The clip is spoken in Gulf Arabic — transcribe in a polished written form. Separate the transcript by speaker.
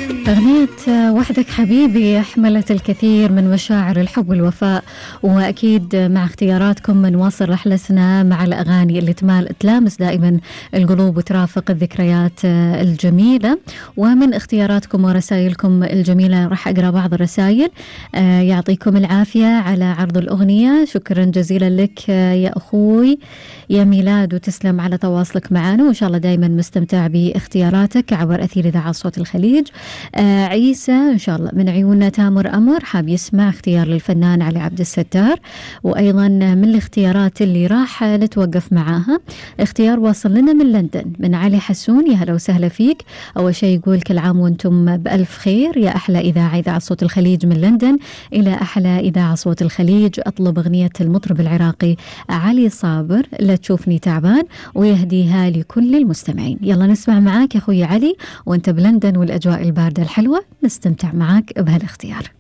Speaker 1: أغنية وحدك حبيبي حملت الكثير من مشاعر الحب والوفاء، وأكيد مع اختياراتكم نواصل رحلتنا مع الأغاني اللي تلامس دائما القلوب وترافق الذكريات الجميلة. ومن اختياراتكم ورسائلكم الجميلة راح أقرأ بعض الرسائل. يعطيكم العافية على عرض الأغنية، شكرا جزيلا لك يا أخوي يا ميلاد، وتسلم على تواصلك معنا، وإن شاء الله دائما مستمتع باختياراتك عبر أثير إذاعة صوت الخليج. عيسى إن شاء الله من عيوننا تامر أمر حاب يسمع اختيار للفنان علي عبد الستار. وأيضا من الاختيارات اللي راح نتوقف معاها اختيار واصل لنا من لندن من علي حسون، يا هلا وسهلا فيك. أول شيء يقول كل عام وانتم بألف خير، يا أحلى إذاعة صوت الخليج من لندن إلى أحلى إذاعة صوت الخليج. أطلب أغنية المطرب العراقي علي صابر لا تشوفني تعبان، ويهديها لكل المستمعين. يلا نسمع معاك يا أخوي علي وانت بلندن والأجواء الباردة الحلوة، نستمتع معاك بهالاختيار.